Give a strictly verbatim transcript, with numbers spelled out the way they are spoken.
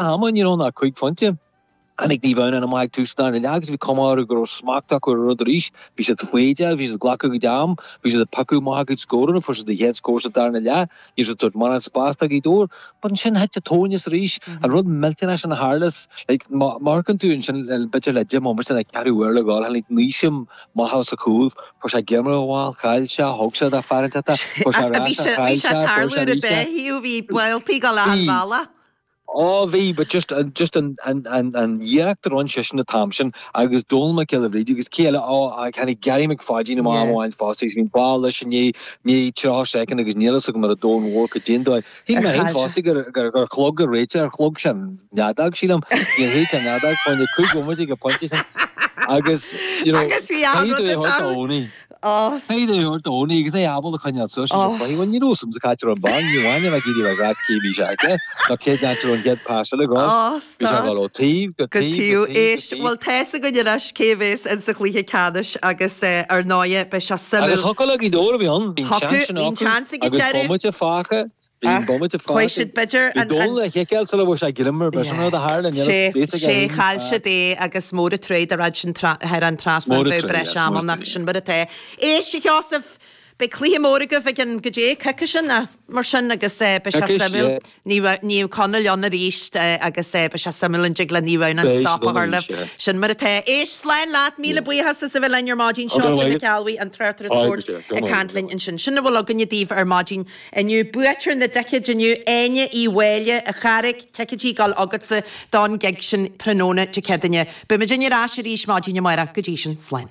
ama you know ná cúig phointe. Tháinig Naomh Adhamhnáin amach ag tús an dara leath agus bhí cuma orthu go raibh smacht acu ar an rud arís. Bhí siad foighdeach, bhí siad ag glacadh a gcuid am, bhí siad ag piocadh amach a gcuid scóranna, fuair siad a chéad scór sa darna leath, ní raibh siad ag tabhairt mórán spás do Ghaoth Dobhair. But ansin thit an tóin as arís. An rud millteanach sin a tharla, like, má amharcann tú ansin b'fhéidir le deich mbomaite nó ceathrú uair le dhul, tháinig naoi maith as a chúl, fuair sé greim ar an bhall, chaill sé, thug sé do fear inteacht, fuair sé ar ais, chaill sé, fuair sé arís é. Bhí buailtí go leath an bhealaigh. Ó bhí, but just just an an an an iarracht a rinne seisean an t-am sin agus Dónal Mac Giolla Bhríde agus cé eile ó tháinig Gary McFadyen amach am amháin fosta agus bhí an ball leis i ndiaidh ndiaidh tríocha soicind agus níl fhios agam ar an domhan mhór cad é an dóigh. Shíl mé féin fosta gur gur gur chlog an réiteoir ar chlog sé an fheadóg sílim. Níor shéid sé an fheadóg fá choinne cúig bhomaite ag an pointe sin agus you know Agus bhí an caithfidh rud tú é a ag thabhairt do tarlú. Owenie. Ó. Caithfidh tú é a thabhairt do Owenie agus é ábalta coinneáil suas leis an chluiche. Bhuel ní raibh fhios a'msa cá háit a raibh an ball, ní amháin a bheith ag iarraidh a bheith ag rá cé bhí sé aige nó cén áit a raibh an chéad pas eile ag dul. Ó, Bhí sé ag stop. dul ó taobh go Go taobh go taobh. taobh go Éist, taobh. bhuel tá's againn anois cé a bhéas in sa chluiche ceannais agus eh, ar ndóighe beidh sé Agus suimiúil. thiocfadh le Gaoth Dobhair a bhí ann, bhí an Thiocfadh, seans sin bhí an acu seans ag an agus deireadh. bomaite fágtha. Bhí an Ach bomaite chuaigh fágtha. siad b'fhéidir Bhí an, an Dónal le chiceáil sula bhfuair sé greim ar bith, sin rud a tharla, níl Sé, fhios aige sé féin. chaill siad é agus mór an trua dá raibh sin tra- thar an trasnán Mór an bheadh trua, breis yes, mór ama an nach trua. sin mar atá. Éist, a Sheosaimh, beidh cluiche mór agaibh ag an go dté coicís sin ná mar sin agus eh, beidh sé Coicís, suimiúil. yeah. Ní raibh- ní raibh Conall ann arís eh, agus eh, beidh sé suimiúil an dtig le Naomh Adhamhnáin Beidh stop siad a ann chur arís, libh. yeah. Sin mar atá. Éist, slán leat, míle buíochas as a bheith linn ar maidin Ó, go Seosamh raibh Mac maith. Ceallbhuí an tráchtaire Aye, spóirt go ag maith. caint linn ansin. Sin a bhfuil againne daoibh ar maidin inniu. Buaiteoir na dticéad inniu Áine Uí Mháille a Charraig ticéidí ag dul agatsa don gig sin tráthnóna Dé Céadaoine. Beimid ar ais arís maidin amárach go dtí sin slán.